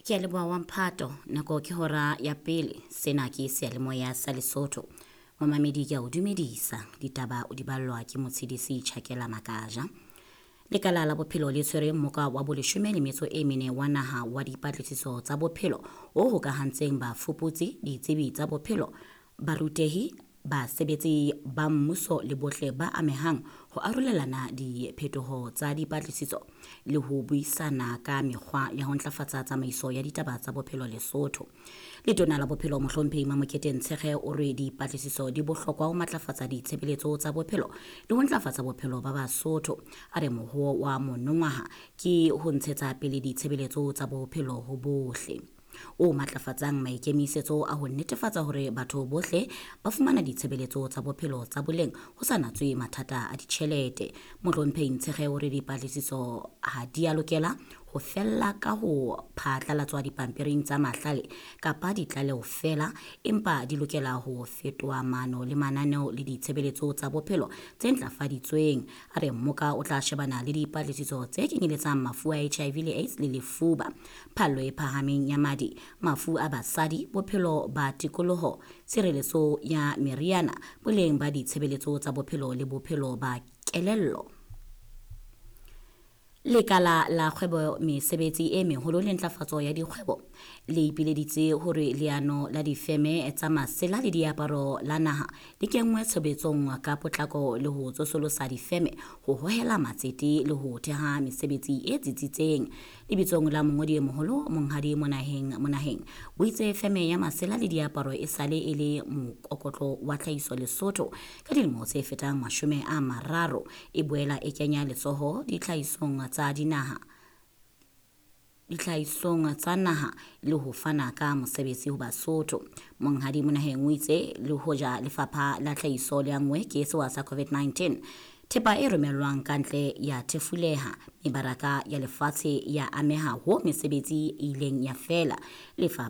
Ke a leboha wa mphato. Nako ke hora ya pele. Sena ke seyalemoya sa Lesotho. Momamedi ke a o dumedisa. Ditaba o di ballwa ke Motshedisi Chakela Makaja. Lekala la bophelo le tshwere mmoka wa boleshome le metso e mene wa naha wa dipatlisiso tsa bophelo o hokahantseng bafuputsi, ditsebi tsa bophelo, barutehi, basebetsi ba mmuso le bohle ba amehang ho arolelana diphetoho tsa dipatlisiso le ho buisana ka mekgwa ya ho ntlafatsa tsamaiso ya ditaba tsa bophelo Lesotho. Letona la Bophelo Mohlomphehi Mamokete Ntshekge o re dipatlisiso di bohlokwa ho matlafatsa ditshebeletso tsa bophelo le ho ntlafatsa bophelo ba Basotho. A re mohoo wa monongwaha ke ho ntshetsa pele ditshebeletso tsa bophelo ho bohle, o matlafatsang maikemisetso a ho netefatsa hore batho bohle ba fumana ditshebeletso tsa bophelo tsa boleng ho sa natswe mathata a ditjhelete. Mohlomphehi Ntshekge o re dipatlisiso ha di a lokela ho fella ka ho phatlalatswa dipampiring tsa mahlale kapa ditlaleho feela, empa di lokela ho fetoha maano le mananeo le ditshebeletso tsa bophelo tse ntlafaditsweng. A re mmoka o tla shebana le dipatlisiso tse kenyeletsang mafu a HIV le AIDS le lefuba, phallo e phahameng ya madi, mafu a basadi, bophelo ba tikoloho, tshireletso ya meriana, boleng ba ditshebeletso tsa bophelo le bophelo ba kelello. Lekala la kgwebo, mesebetsi e meholo le ntlafatso ya dikgwebo le ipileditse hore leano la difeme tsa masela le diaparo la naha le kenngwe tshebetsong ka potlako le ho tsosolosa difeme, ho hohela matsete le ho theha mesebetsi e tsitsitseng. Lebitsong la mongodi e moholo Monghadi Monaheng Monaheng o itse feme ya masela le diaparo e sale e le mokokotlo wa tlhahiso Lesotho ka dilemo tse fetang 30, e boela e kenya letsoho ditlhahisong tsa dinaha ditlhahisong tsa naha le ho fana ka mosebetsi ho Basotho. Monghadi Monaheng o itse le hoja lefapha la tlhahiso le anngwe ke sewa sa COVID-19, thepa e romellwang ka ntle ya thefuleha, mebaraka ya lefatshe ya ameha ho mesebetsi e ileng ya fela. Lefapha